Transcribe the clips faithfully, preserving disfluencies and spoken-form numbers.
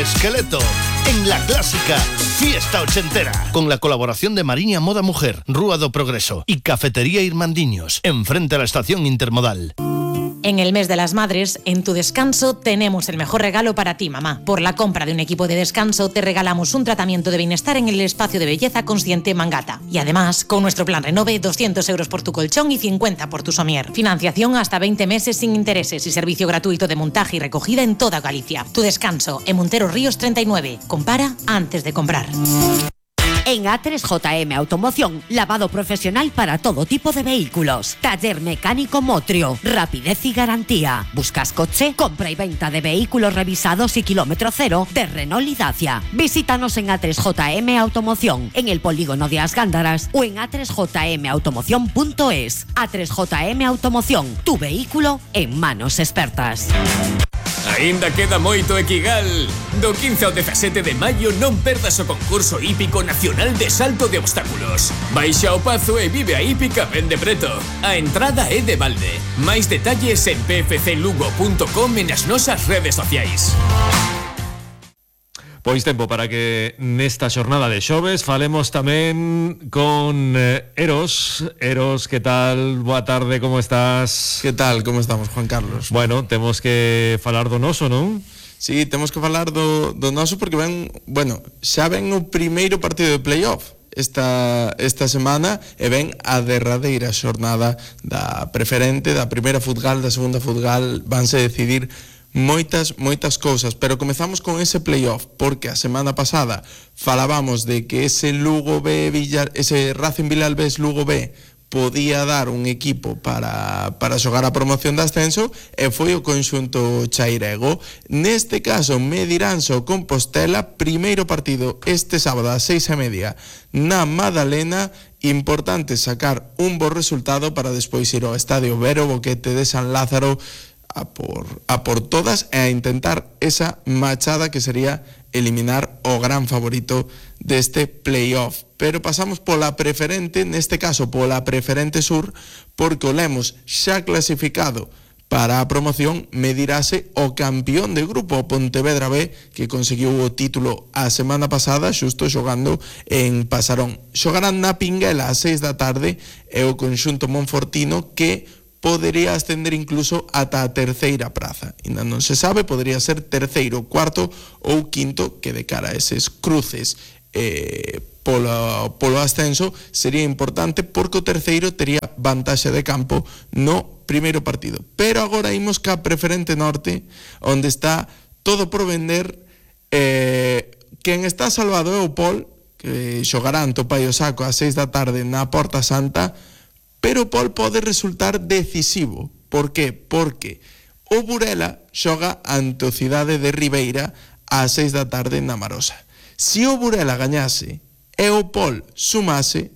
Esqueleto, en la clásica Fiesta Ochentera, con la colaboración de Mariña Moda Mujer, Rúa do Progreso y Cafetería Irmandiños, enfrente a la estación intermodal. En el mes de las madres, en Tu Descanso tenemos el mejor regalo para ti, mamá. Por la compra de un equipo de descanso te regalamos un tratamiento de bienestar en el espacio de belleza Consciente Mangata. Y además, con nuestro plan Renove, doscientos euros por tu colchón y cincuenta por tu somier. Financiación hasta veinte meses sin intereses y servicio gratuito de montaje y recogida en toda Galicia. Tu Descanso, en Monteros Ríos treinta y nueve. Compara antes de comprar. En A tres J M Automoción, lavado profesional para todo tipo de vehículos. Taller mecánico Motrio, rapidez y garantía. ¿Buscas coche? Compra y venta de vehículos revisados y kilómetro cero de Renault y Dacia. Visítanos en A tres J M Automoción, en el polígono de As Gándaras o en a tres j m automoción punto es. A tres J M Automoción, tu vehículo en manos expertas. Aínda queda moito Equigal. Do quince ao dezasete de maio non perdas o concurso hípico nacional de salto de obstáculos. Baixa ao Pazo e vive a hípica ben de preto. A entrada é de balde. Máis detalles en p f c lugo punto com e nas nosas redes sociais. Pois tempo para que nesta xornada de xoves falemos tamén con eh, Eros. Eros, que tal? Boa tarde, como estás? Que tal? Como estamos, Juan Carlos? Bueno, temos que falar do noso, non? Sí, temos que falar do, do noso porque ven, bueno, xa ven o primeiro partido de playoff esta, esta semana e ven a derradeira xornada da preferente, da primeira futgal, da segunda futgal, vanse decidir moitas, moitas cousas, pero comezamos con ese playoff, porque a semana pasada falábamos de que ese Lugo B, Villar, ese Racing Vilalbés Lugo B podía dar un equipo para, para xogar a promoción de ascenso e foi o conxunto chairego. Neste caso, Mediranso Compostela, primeiro partido este sábado a seis e media na Madalena. Importante sacar un bo resultado para despois ir ao Estadio Vero Boquete de San Lázaro a por, a por todas e a intentar esa machada que sería eliminar o gran favorito deste playoff. Pero pasamos pola preferente, neste caso pola preferente sur, porque o Lemos xa clasificado para a promoción medirase o campeón de grupo, o Pontevedra B, que conseguiu o título a semana pasada xusto xogando en Pasarón. Xogarán na Pinguela a seis da tarde e o conxunto monfortino que podería ascender incluso ata a terceira praza. Ainda non se sabe, podría ser terceiro, cuarto ou quinto, que de cara a eses cruces eh, polo, polo ascenso sería importante porque o terceiro tería vantaxe de campo no primeiro partido. Pero agora imos ca preferente norte, onde está todo por vender. Eh, quen está salvado é o Pol, que xogarán Topai o Saco a seis da tarde na Porta Santa, pero o Pol pode resultar decisivo. Por que? Porque o Burela xoga ante o Cidade de Ribeira a seis da tarde na Marosa. Se o Burela gañase e o Pol sumase,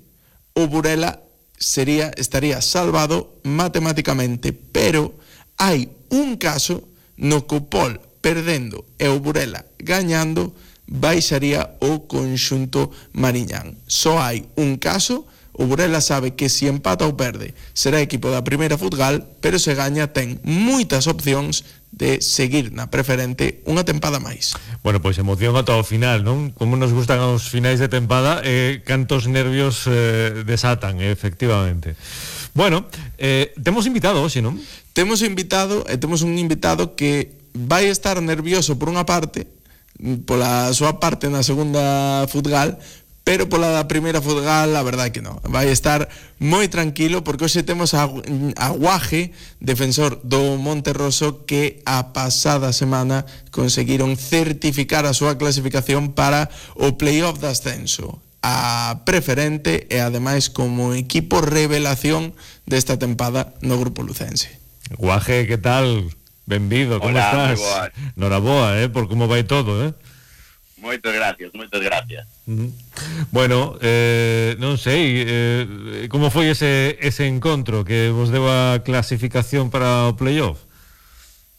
o Burela sería, estaría salvado matemáticamente, pero hai un caso no que o Pol perdendo e o Burela gañando baixaría o conxunto mariñán. Só hai un caso. O Burela sabe que se empata ou perde será equipo da primeira futgal, pero se gaña ten moitas opcións de seguir na preferente unha tempada máis. Bueno, pois emoción ata o final, non? Como nos gustan os finais de tempada, eh, cantos nervios eh, desatan, eh, efectivamente. Bueno, eh, temos invitado hoxe, non? Temos invitado, e temos un invitado que vai estar nervioso por unha parte, pola súa parte na segunda futgal, pero pola da primeira futgal, a verdade que non. Vai estar moi tranquilo, porque hoxe temos a, a Guaje, defensor do Monterroso, que a pasada semana conseguiron certificar a súa clasificación para o playoff de ascenso, a preferente e ademais como equipo revelación desta tempada no grupo lucense. Guaje, que tal? Benvido, como Hola, estás? Noraboa, eh, por como vai todo, eh? Moitas gracias, moitas gracias. Uh-huh. Bueno, eh, non sei, eh, como foi ese, ese encontro que vos deu a clasificación para o playoff?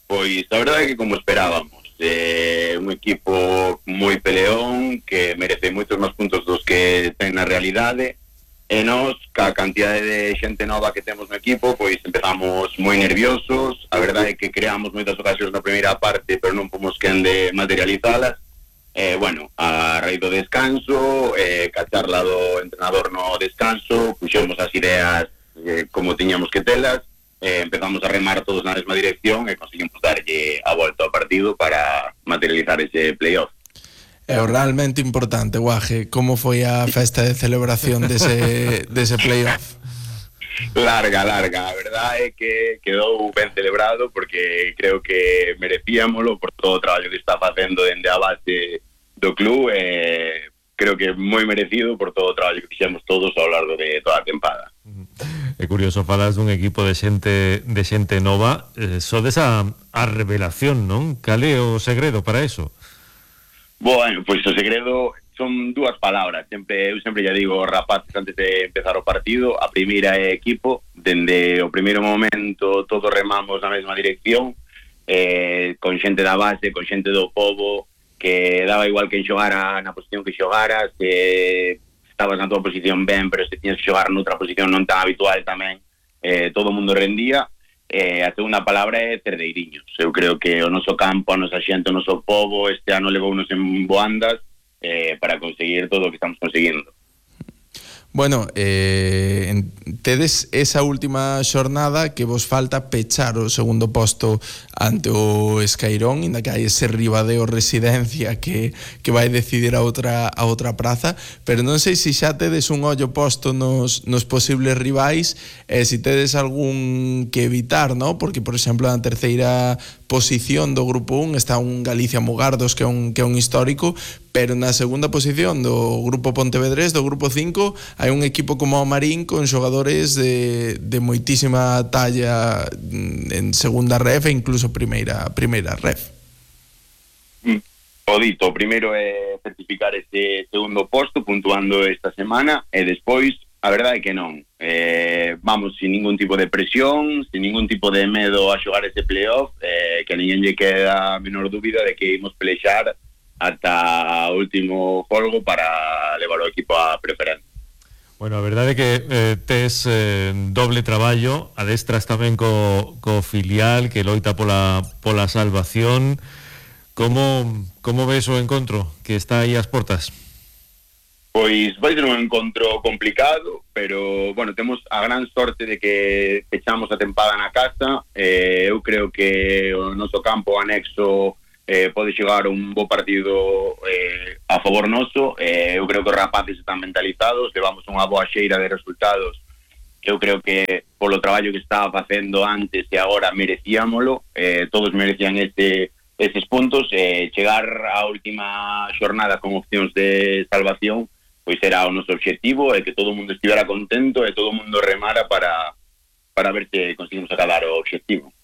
Pois a verdade é que como esperábamos, eh, un equipo moi peleón que merece moitos máis puntos dos que ten na realidade, e nós, ca cantidade de xente nova que temos no equipo, pois empezamos moi nerviosos. A verdade é que creamos moitas ocasións na primeira parte, pero non pomos quen de materializalas. Eh, bueno, a raíz do descanso, eh, ca charla do entrenador no descanso, puxemos as ideas eh, como tiñamos que telas, eh, empezamos a remar todos na mesma dirección e conseguimos darlle a volta ao partido para materializar ese playoff. É realmente importante, Guaje, como foi a festa de celebración dese, dese playoff? Larga, larga, a verdade é que quedou ben celebrado porque creo que merecíamolo por todo o traballo que está facendo dende a base do club, eh, creo que moi merecido por todo o traballo que fixemos todos ao largo de toda a tempada. É curioso, falas dun equipo de xente de xente nova, eh, sodes a, a revelación, non? Cal é o segredo para eso? Bueno, pois o segredo son dúas palabras, sempre eu sempre ya digo aos rapaces antes de empezar o partido, a primeira é equipo, dende o primeiro momento todos remamos na mesma dirección, eh, con xente da base, con xente do pobo, que daba igual que xogara na posición que xogaras, que estabas na tua posición ben, pero se tiñas que xogar noutra posición non tan habitual tamén, eh, todo o mundo rendía. Eh, a segunda palabra é cerdeiriños. Eu creo que o noso campo, a nosa xente, o noso pobo este ano levounos en boandas eh, para conseguir todo o que estamos conseguindo. Bueno, eh, tedes esa última xornada que vos falta pechar o segundo posto ante o Escairón, inda que hai ese Ribadeo Residencia que, que vai decidir a outra, a outra praza, pero non sei se xa tedes un ollo posto nos, nos posibles rivais e se tedes algún que evitar, ¿no? Porque, por exemplo, na terceira posición do grupo un está un Galicia Mugardos que é un, que é un histórico, pero na segunda posición do grupo Pontevedrés, do grupo cinco, hai un equipo como o Marín con xogadores de, de moitísima talla en segunda ref e incluso primeira, primeira ref. O dito, o primeiro é certificar este segundo posto puntuando esta semana e despois a verdade é que non. Eh, vamos sin ningún tipo de presión, sin ningún tipo de medo a xogar ese playoff, eh, que a ninguén lle queda a menor dúbida de que imos pelexar ata o último folgo para levar o equipo a preferencia. Bueno, a verdade é que eh, tes eh, doble traballo, adestras tamén co, co filial que loita pola, pola salvación. Como, como ves o encontro que está aí ás portas? Pois vai ser un encontro complicado, pero, bueno, temos a gran sorte de que pechamos a tempada na casa. Eh, eu creo que o noso campo anexo eh, pode chegar un bo partido eh, a favor noso. Eh, eu creo que os rapaces están mentalizados, levamos unha boa xeira de resultados que eu creo que polo traballo que estaba facendo antes e agora merecíamolo. Eh, todos merecían este, estes puntos. Eh, chegar á última xornada con opcións de salvación pois era o noso obxectivo, e que todo o mundo estivera contento e todo o mundo remara para, para ver se conseguimos acadar o obxectivo.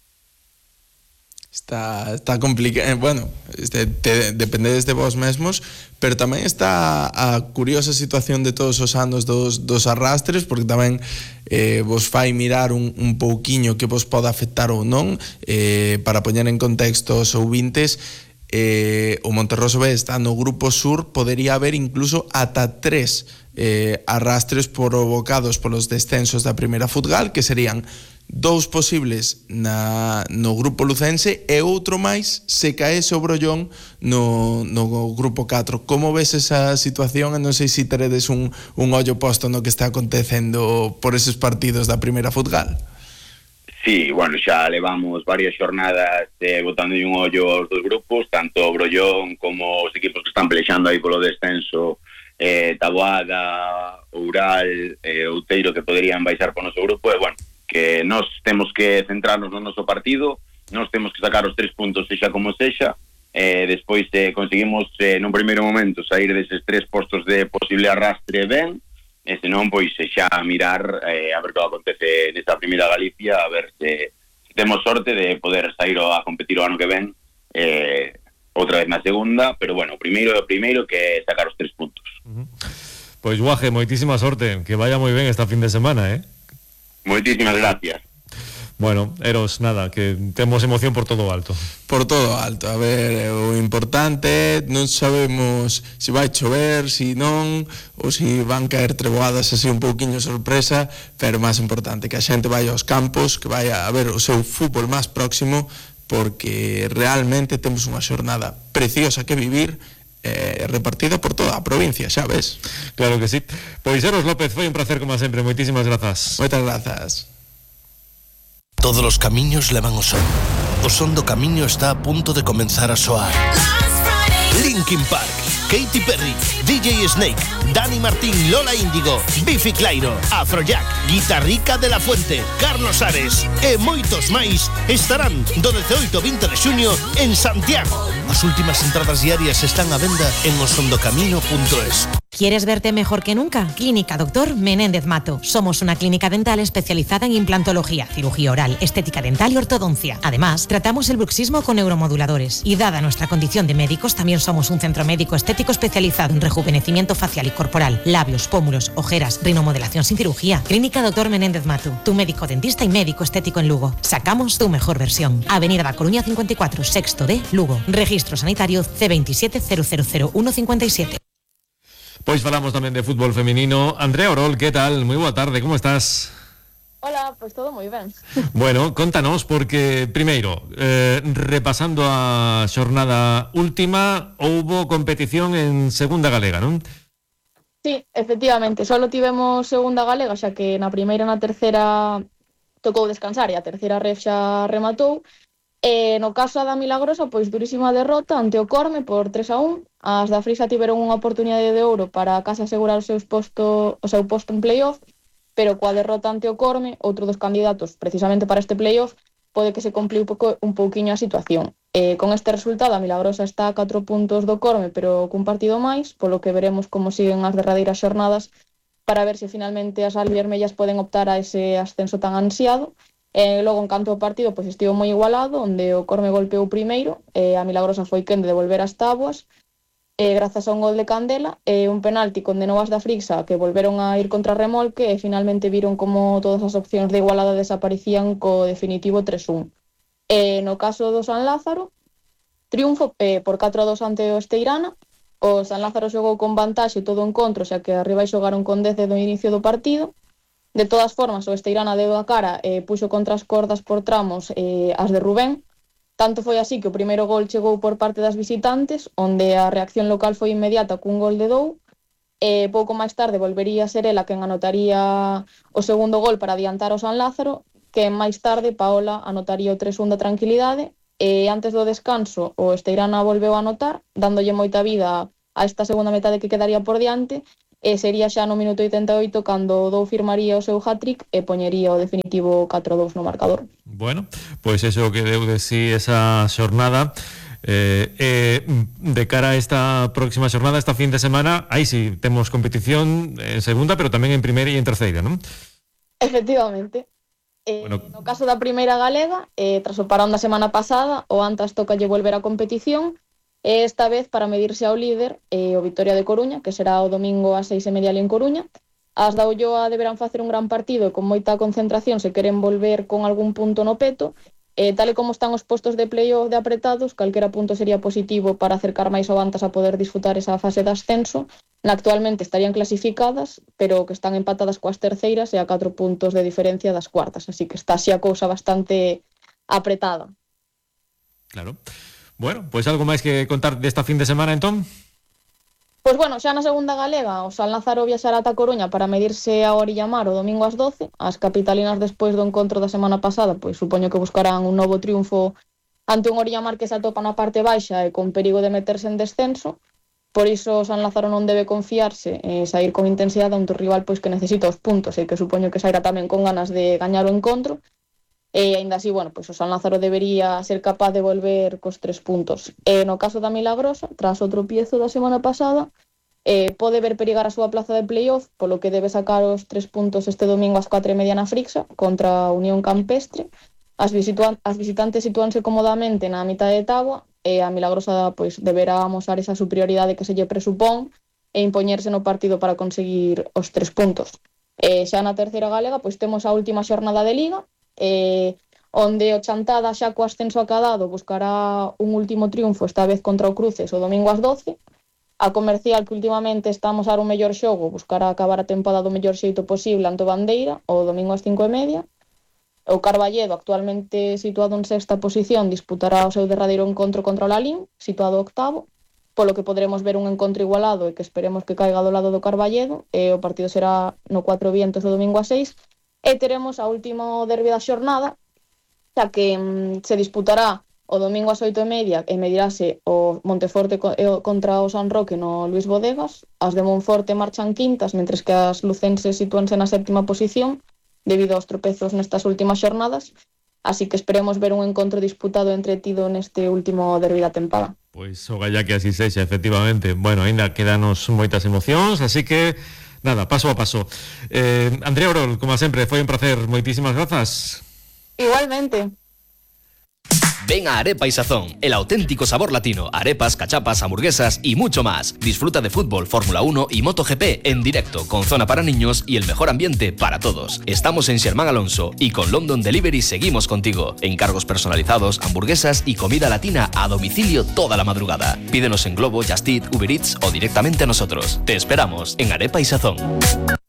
Está, está complicado, bueno, este, te, dependedes de vos mesmos, pero tamén está a curiosa situación de todos os anos dos, dos arrastres, porque tamén eh, vos fai mirar un, un pouquiño que vos poda afectar ou non, eh, para poñer en contexto os ouvintes. Eh, o Monterroso B está no grupo sur, podería haber incluso ata tres eh, arrastres provocados polos descensos da primeira futgal, que serían dous posibles na, no grupo lucense e outro máis se caese o Brollón no, no grupo catro. Como ves esa situación? E non sei se teredes un, un ollo posto no que está acontecendo por eses partidos da primeira futgal. Sí, bueno, xa levamos varias xornadas eh, botando un ollo aos dos grupos, tanto o Brollón como os equipos que están pelexando aí polo descenso, eh, Taboada, Oural, eh, Outeiro, que poderían baixar por noso grupo. E, bueno, que nós temos que centrarnos no noso partido, nós temos que sacar os tres puntos sexa como sexa, eh, despois eh, conseguimos eh, nun primeiro momento sair deses tres postos de posible arrastre ben, e senón, pois, xa mirar eh, a ver que acontece nesta primeira Galicia, a ver se, se temos sorte de poder sair a competir o ano que ven eh, outra vez na segunda, pero, bueno, o primeiro é o primeiro, que é sacar os tres puntos. Uh-huh. Pois, Guaje, moitísima sorte, que vaya moi ben esta fin de semana, eh? Moitísimas gracias. Bueno, Eros, nada, que temos emoción por todo alto. Por todo alto, a ver, o importante, non sabemos se vai chover, se non, ou se van caer treboadas así un pouquiño sorpresa, pero máis importante que a xente vai aos campos, que vai a ver o seu fútbol máis próximo, porque realmente temos unha xornada preciosa que vivir eh, repartida por toda a provincia, xa ves. Claro que sí. Pois Eros López, foi un placer como sempre, moitísimas grazas. Moitas grazas. Todos os camiños levan o son. O son do camiño está a punto de comenzar a soar. Linkin Park, Katy Perry, D J Snake, Dani Martín, Lola Índigo, Bifi Clyro, Afrojack, Guitarrica de la Fuente, Carlos Ares e moitos máis estarán do dezaoito ao vinte de xuño en Santiago. As últimas entradas diarias están á venda en osondocamino punto es. ¿Quieres verte mejor que nunca? Clínica Doctor Menéndez Mato. Somos una clínica dental especializada en implantología, cirugía oral, estética dental y ortodoncia. Además, tratamos el bruxismo con neuromoduladores. Y dada nuestra condición de médicos, también somos un centro médico estético especializado en rejuvenecimiento facial y corporal, labios, pómulos, ojeras, rinomodelación sin cirugía. Clínica Doctor Menéndez Mato. Tu médico dentista y médico estético en Lugo. Sacamos tu mejor versión. Avenida da Coruña cincuenta y cuatro, sexto D, Lugo. Registro sanitario C veintisiete cero cero cero uno cincuenta y siete. Pois falamos tamén de fútbol feminino. Andrea Orol, que tal? Moi boa tarde, como estás? Hola, pois pues todo moi ben. Bueno, contanos, porque primeiro, eh, repasando a xornada última, houbo competición en segunda galega, non? Sí, efectivamente, solo tivemos segunda galega, xa que na primeira e na terceira tocou descansar e a terceira ref xa rematou. E no caso da Milagrosa, pois durísima derrota ante o Corme por tres a un. As da Frisa tiveron unha oportunidade de ouro para case asegurar o, seus posto, o seu posto en playoff, pero coa derrota ante o Corme, outro dos candidatos precisamente para este playoff, pode que se compli un, pouco, un pouquiño a situación. E con este resultado, a Milagrosa está a catro puntos do Corme, pero cun partido máis, polo que veremos como siguen as derradeiras xornadas para ver se finalmente as albiermellas poden optar a ese ascenso tan ansiado. E logo, en canto ao partido, pois estivo moi igualado, onde o Corme golpeou primeiro, e a Milagrosa foi quen de devolver as táboas, e grazas a un gol de Candela, e un penalti condenou as da Frixa, que volveron a ir contra remolque, e finalmente viron como todas as opcións de igualada desaparecían co definitivo tres un. E no caso do San Lázaro, triunfo eh, por catro a dos ante o Esteirana. O San Lázaro xogou con vantaxe todo o encontro, xa que arriba xogaron con dez do inicio do partido. De todas formas, o Esteirana deu a cara e eh, puxo contra as cordas por tramos eh, as de Rubén. Tanto foi así que o primeiro gol chegou por parte das visitantes, onde a reacción local foi inmediata cun gol de Dou, e pouco máis tarde volvería a ser ela quen anotaría o segundo gol para adiantar o San Lázaro, que máis tarde Paola anotaría o tres un da Tranquilidade, e antes do descanso o Esteirana volveu a anotar, dándolle moita vida a esta segunda metade que quedaría por diante, e sería xa no minuto oitenta e oito cando o Dou firmaría o seu hat-trick e poñería o definitivo catro a dous no marcador. Bueno, pois iso que deu de si esa xornada. Eh, eh, de cara a esta próxima xornada, esta fin de semana, aí si temos competición en segunda, pero tamén en primeira e en terceira, non? Efectivamente. Eh, bueno. No caso da primeira galega, eh, tras o parón da semana pasada, o Antas tocalle volver á competición, e esta vez para medirse ao líder, eh, o Vitoria de Coruña, que será o domingo ás seis e media ali en Coruña. As da Ulloa deberán facer un gran partido e con moita concentración se queren volver con algún punto no peto. Eh, tal e como están os postos de playoff de apretados, calquera punto sería positivo para acercar máis ao Antas a poder disfrutar esa fase de ascenso. Na actualmente estarían clasificadas, pero que están empatadas coas terceiras e a catro puntos de diferencia das cuartas, así que está así a cousa bastante apretada. Claro. Bueno, pois algo máis que contar desta fin de semana, entón? Pois bueno, xa na segunda galega, o San Lázaro viaxará ata Coruña para medirse a Orillamar o domingo ás doce. As capitalinas, despois do encontro da semana pasada, pois supoño que buscarán un novo triunfo ante un Orillamar que se atopa na parte baixa e con perigo de meterse en descenso. Por iso o San Lázaro non debe confiarse e sair con intensidade ante o rival pois que necesita os puntos e que supoño que sairá tamén con ganas de gañar o encontro. E aínda así, bueno, pois o San Lázaro debería ser capaz de volver cos tres puntos. E no caso da Milagrosa, tras o tropiezo da semana pasada, eh, pode ver perigar a súa plaza de playoff, polo que debe sacar os tres puntos este domingo ás catro e media na Frixa contra a Unión Campestre. As, visitan- as visitantes sitúanse cómodamente na mitad de táboa e a Milagrosa pois deberá amosar esa superioridade que se lle presupón e impoñerse no partido para conseguir os tres puntos. E xa na terceira galega, pois temos a última xornada de Liga, eh, onde o Chantada xa co ascenso acadado buscará un último triunfo, esta vez contra o Cruces o domingo ás doce. A Comercial, que últimamente está a amosar un mellor xogo, buscará acabar a tempada do mellor xeito posible ante o Bandeira o domingo ás cinco e media. O Carballedo, actualmente situado en sexta posición, disputará o seu derradeiro encontro contra o Lalín, situado octavo. polo que poderemos ver un encontro igualado e que esperemos que caiga do lado do Carballedo. E o partido será no Cuatro Vientos o domingo a seis, e teremos a último derbi da xornada, xa que mm, se disputará o domingo ás oito e media e medirase o Monteforte co- e o- contra o San Roque no Luís Bodegas. As de Monforte marchan quintas, mentres que as lucenses sitúanse na séptima posición debido aos tropezos nestas últimas xornadas. Así que esperemos ver un encontro disputado e entretido neste último derbi da tempada. Pois o galla que así sexa, efectivamente. Bueno, ainda quedanos moitas emocións, así que nada, paso a paso. Eh, Andrea Orol, como sempre, foi un placer. Moitísimas grazas. Igualmente. Ven a Arepa y Sazón, el auténtico sabor latino, arepas, cachapas, hamburguesas y mucho más. Disfruta de fútbol, Fórmula uno y MotoGP en directo, con zona para niños y el mejor ambiente para todos. Estamos en Sherman Alonso y con London Delivery seguimos contigo. Encargos personalizados, hamburguesas y comida latina a domicilio toda la madrugada. Pídenos en Globo, Just Eat, Uber Eats o directamente a nosotros. Te esperamos en Arepa y Sazón.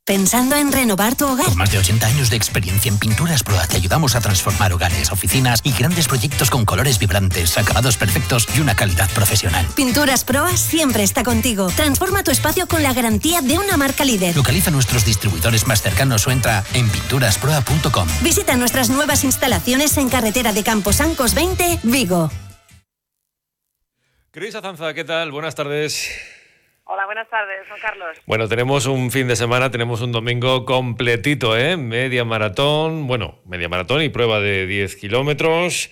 ¿Pensando en renovar tu hogar? Con más de ochenta años de experiencia en Pinturas Proa te ayudamos a transformar hogares, oficinas y grandes proyectos con colores vibrantes, acabados perfectos y una calidad profesional. Pinturas Proa siempre está contigo. Transforma tu espacio con la garantía de una marca líder. Localiza nuestros distribuidores más cercanos o entra en pinturas proa punto com. Visita nuestras nuevas instalaciones en carretera de Camposancos veinte, Vigo. Cris Azanza, ¿qué tal? Buenas tardes. Hola, buenas tardes, Juan Carlos. Bueno, tenemos un fin de semana, tenemos un domingo completito, ¿eh? Media maratón, bueno, media maratón y prueba de diez kilómetros.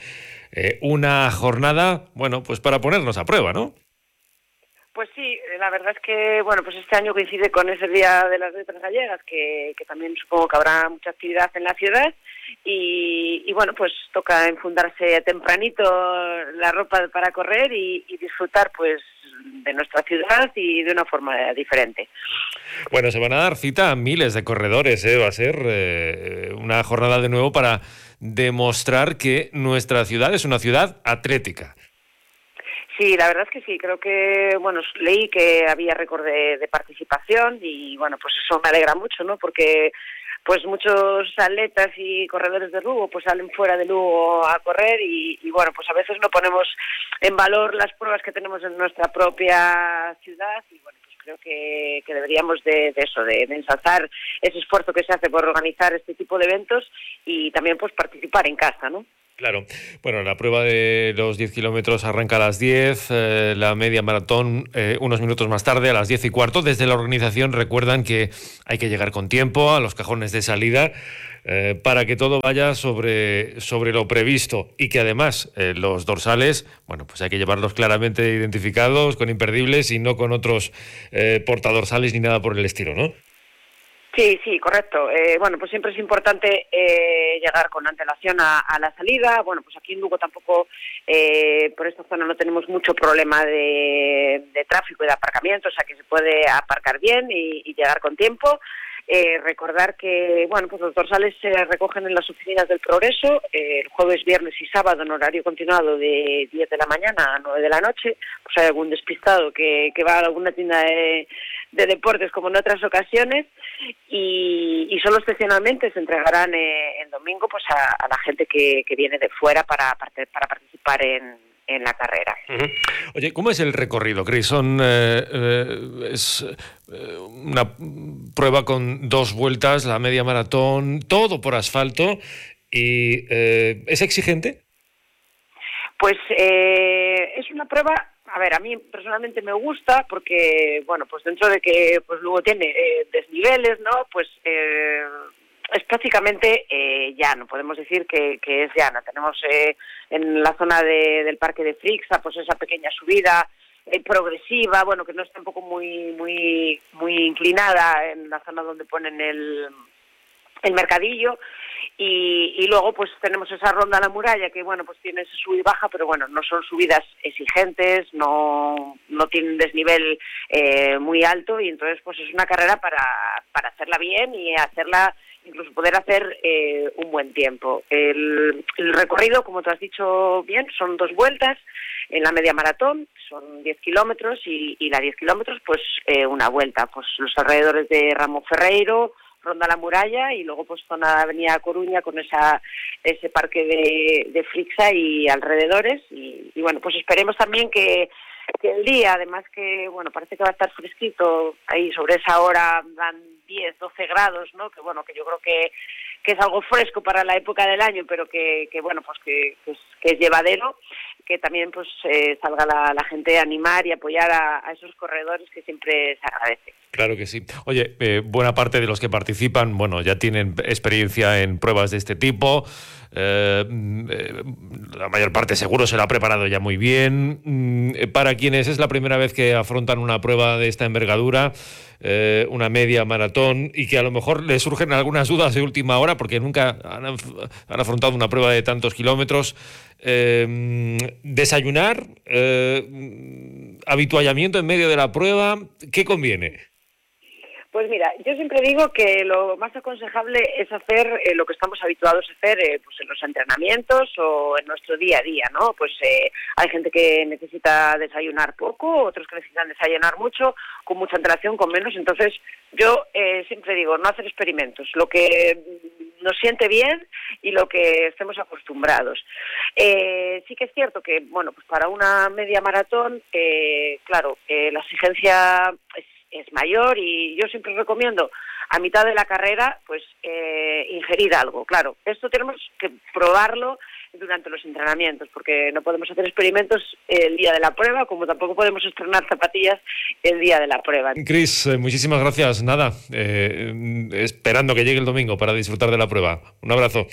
Eh, una jornada, bueno, pues para ponernos a prueba, ¿no? Pues sí, la verdad es que, bueno, pues este año coincide con ese Día de las Letras Gallegas, que, que también supongo que habrá mucha actividad en la ciudad. Y, y bueno, pues toca enfundarse tempranito la ropa para correr y, y disfrutar, pues, de nuestra ciudad y de una forma diferente. Bueno, se van a dar cita a miles de corredores, ¿eh? Va a ser eh, una jornada de nuevo para demostrar que nuestra ciudad es una ciudad atlética. Sí, la verdad es que sí, creo que, bueno, leí que había récord de, de participación y, bueno, pues eso me alegra mucho, ¿no? Porque pues muchos atletas y corredores de Lugo pues salen fuera de Lugo a correr y, y bueno, pues a veces no ponemos en valor las pruebas que tenemos en nuestra propia ciudad y bueno, pues creo que, que deberíamos de, de eso, de, de ensalzar ese esfuerzo que se hace por organizar este tipo de eventos y también pues participar en casa, ¿no? Claro. Bueno, la prueba de los diez kilómetros arranca a las diez, eh, la media maratón eh, unos minutos más tarde, a las diez y cuarto. Desde la organización recuerdan que hay que llegar con tiempo a los cajones de salida eh, para que todo vaya sobre, sobre lo previsto y que además eh, los dorsales, bueno, pues hay que llevarlos claramente identificados, con imperdibles y no con otros eh, portadorsales ni nada por el estilo, ¿no? Sí, sí, correcto. Eh, bueno, pues siempre es importante eh, llegar con antelación a, a la salida. Bueno, pues aquí en Lugo tampoco, eh, por esta zona no tenemos mucho problema de, de tráfico y de aparcamiento, o sea que se puede aparcar bien y, y llegar con tiempo. Eh, recordar que, bueno, pues los dorsales se recogen en las oficinas del Progreso eh, el jueves, viernes y sábado en horario continuado de diez de la mañana a nueve de la noche. Pues hay algún despistado que, que va a alguna tienda de, de deportes como en otras ocasiones y, y solo excepcionalmente se entregarán eh, el domingo pues a, a la gente que, que viene de fuera para, para participar en, en la carrera. Uh-huh. Oye, ¿cómo es el recorrido, Cris? Son, eh, eh, es eh, una prueba con dos vueltas, la media maratón, todo por asfalto y eh, ¿es exigente? Pues eh, es una prueba, a ver, a mí personalmente me gusta porque, bueno, pues dentro de que pues luego tiene eh, desniveles, ¿no? Pues eh, es prácticamente eh, llano, podemos decir que, que es llana. Tenemos eh, en la zona de, del Parque de Frixa, pues esa pequeña subida eh, progresiva, bueno, que no está tampoco muy, muy, muy inclinada en la zona donde ponen el, el mercadillo. Y, y luego pues tenemos esa ronda a la muralla que bueno pues tiene ese sub y baja, pero bueno, no son subidas exigentes, no, no tienen desnivel eh, muy alto y entonces pues es una carrera para, para hacerla bien y hacerla, incluso poder hacer eh, un buen tiempo. El, el recorrido, como tú has dicho bien, son dos vueltas. En la media maratón son diez kilómetros y, y la diez kilómetros pues eh, una vuelta, pues los alrededores de Ramo Ferreiro, Ronda la Muralla y luego pues zona de Avenida Coruña con esa ese parque de, de Frixa y alrededores y, y bueno pues esperemos también que que el día, además que, bueno, parece que va a estar fresquito, ahí sobre esa hora dan diez, doce grados, ¿no? Que bueno, que yo creo que, que es algo fresco para la época del año, pero que, que bueno, pues que, que, es, que es llevadero, que también pues eh, salga la, la gente a animar y apoyar a, a esos corredores que siempre se agradece. Claro que sí. Oye, eh, buena parte de los que participan, bueno, ya tienen experiencia en pruebas de este tipo. Eh, eh, la mayor parte seguro se la ha preparado ya muy bien. Eh, para quienes es la primera vez que afrontan una prueba de esta envergadura, eh, una media maratón, y que a lo mejor les surgen algunas dudas de última hora porque nunca han, han afrontado una prueba de tantos kilómetros, eh, desayunar, eh, habituallamiento en medio de la prueba, ¿qué conviene? Pues mira, yo siempre digo que lo más aconsejable es hacer eh, lo que estamos habituados a hacer eh, pues en los entrenamientos o en nuestro día a día, ¿no? Pues eh, hay gente que necesita desayunar poco, otros que necesitan desayunar mucho, con mucha antelación, con menos. Entonces, yo eh, siempre digo, no hacer experimentos, lo que nos siente bien y lo que estemos acostumbrados. Eh, sí que es cierto que, bueno, pues para una media maratón, eh, claro, eh, la exigencia es es mayor y yo siempre recomiendo a mitad de la carrera pues eh, ingerir algo. Claro, esto tenemos que probarlo durante los entrenamientos porque no podemos hacer experimentos el día de la prueba, como tampoco podemos estrenar zapatillas el día de la prueba. Cris, eh, muchísimas gracias. Nada, eh, esperando que llegue el domingo para disfrutar de la prueba. Un abrazo.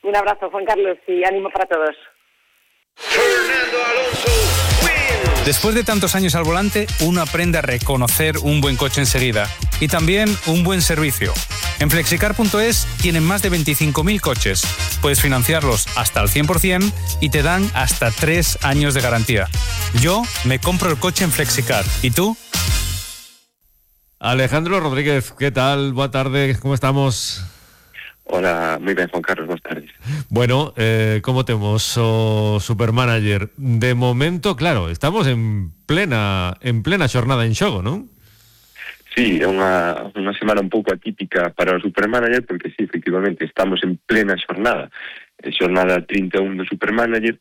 Un abrazo, Juan Carlos, y ánimo para todos. Fernando Alonso. Después de tantos años al volante, uno aprende a reconocer un buen coche enseguida y también un buen servicio. En flexicar punto es tienen más de veinticinco mil coches. Puedes financiarlos hasta al cien por ciento y te dan hasta tres años de garantía. Yo me compro el coche en Flexicar. ¿Y tú? Alejandro Rodríguez, ¿qué tal? Buenas tardes, ¿cómo estamos? Hola, moi ben, Juan Carlos, boas tardes. Bueno, eh, como temos o Supermanager? De momento, claro, estamos en plena en plena xornada en xogo, non? Sí, é unha, unha semana un pouco atípica para o Supermanager, porque sí, efectivamente, estamos en plena xornada. Xornada trinta e un do Supermanager.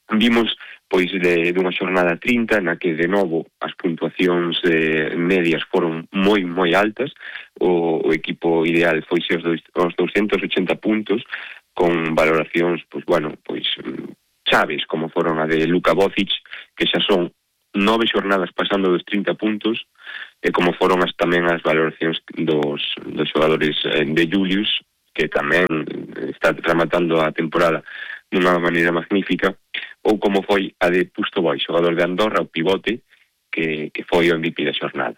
Vimos, pois, de, de unha xornada trinta na que, de novo, as puntuacións eh, medias foron moi, moi altas. O, o equipo ideal foi aos, aos doscientos ochenta puntos, con valoracións, pois, bueno, pois, chaves, como foron a de Luka Bocic, que xa son nove xornadas pasando dos trinta puntos, e como foron as, tamén as valoracións dos, dos xogadores eh, de Julius, que tamén está rematando a temporada dunha maneira magnífica, ou como foi a de Pustoboy, xogador de Andorra, o pivote, que, que foi o M V P da xornada.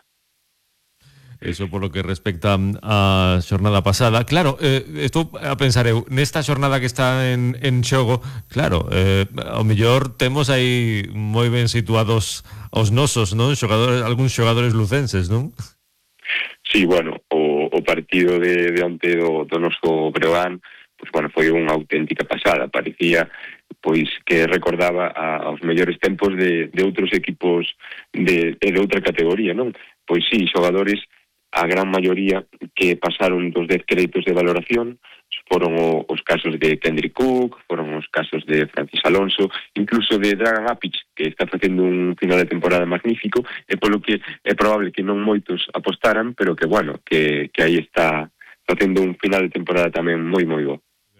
Eso por lo que respecta a xornada pasada. Claro, eh, estou a pensar eu, nesta xornada que está en, en xogo, claro, eh, ao mellor temos aí moi ben situados os nosos, non? Xogadores, algúns xogadores lucenses, non? Sí, bueno, o, o partido de, de onte do, do noso Breogán, pois, bueno, foi unha auténtica pasada. Parecía, pois, que recordaba a, aos mellores tempos de, de outros equipos de, de outra categoría, non? Pois sí, xogadores, a gran maioría que pasaron dos dez créditos de valoración, foron o, os casos de Kendrick Cook, foron os casos de Francis Alonso, incluso de Dragan Apic, que está facendo un final de temporada magnífico, e polo que é probable que non moitos apostaran, pero que, bueno, que, que aí está facendo un final de temporada tamén moi, moi bo.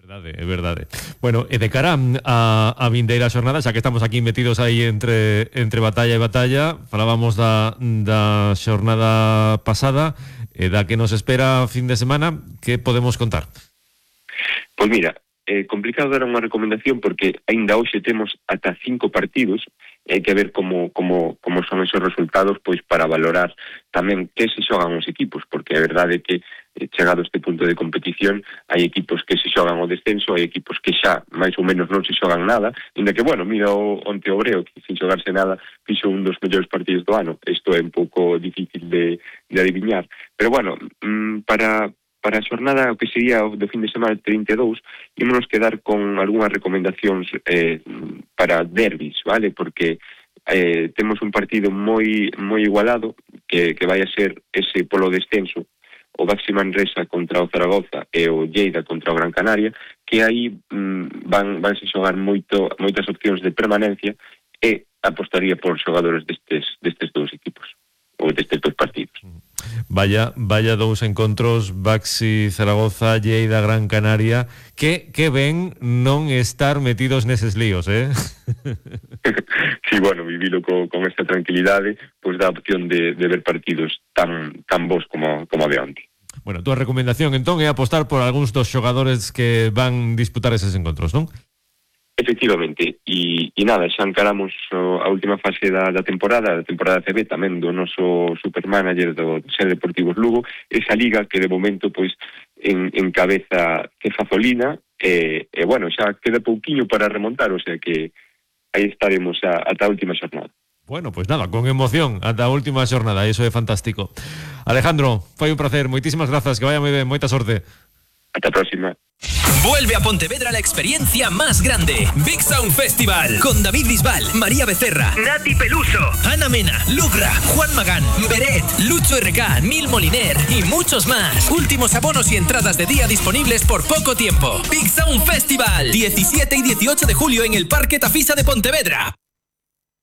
Verdade, é verdade. Bueno, e de cara a, a vindeira xornada, xa que estamos aquí metidos aí entre entre batalla e batalla, falábamos da, da xornada pasada, e da que nos espera fin de semana, que podemos contar? Pois mira, é complicado dar unha recomendación porque aínda hoxe temos ata cinco partidos e hai que ver como, como, como son esos resultados pois para valorar tamén que se xogan os equipos, porque a verdade é que chegado a este punto de competición hai equipos que se xogan o descenso, hai equipos que xa máis ou menos non se xogan nada, inda que, bueno, mira o onte Obreo, que sin xogarse nada fixo un dos mellores partidos do ano. Isto é un pouco difícil de, de adiviñar, pero bueno, para para a xornada o que sería o do fin de semana trinta e dous, ímonos quedar con algunhas recomendacións eh, para derbis, vale? Porque eh, temos un partido moi moi igualado que, que vai a ser ese polo descenso, o Baxi Manresa contra o Zaragoza e o Lleida contra o Gran Canaria, que aí mm, van vanse xogar moito, moitas opcións de permanencia, e apostaría por xogadores destes, destes dous equipos, ou destes dous partidos. Vaya, vaya dous encontros, Baxi Zaragoza, Lleida, Gran Canaria, que, que ven non estar metidos neses líos, eh? Sí, bueno, vivilo co, con esta tranquilidade, pois dá opción de, de ver partidos tan, tan bons como, como de onte. Bueno, túa recomendación entón é apostar por algúns dos xogadores que van disputar eses encontros, non? Efectivamente, e, e nada, xa encaramos o, a última fase da, da temporada, da temporada C B tamén do noso supermanager do Ser Deportivos Lugo, esa liga que de momento pois en, en cabeza que Fazolina, e, e bueno, xa queda pouquiño para remontar, o sea que aí estaremos a, ata a última xornada. Bueno, pues nada, con emoción ata a última xornada, iso é fantástico. Alejandro, foi un placer, moitísimas grazas, que vaya moi ben, moita sorte. Ata a próxima. Vuelve a Pontevedra la experiencia más grande. Big Sound Festival. Con David Bisbal, María Becerra, Nati Peluso, Ana Mena, Lugra, Juan Magán, Beret, Lucho R K, Nil Moliner y muchos más. Últimos abonos y entradas de día disponibles por poco tiempo. Big Sound Festival. diecisiete y dieciocho de julio en el Parque Tafisa de Pontevedra.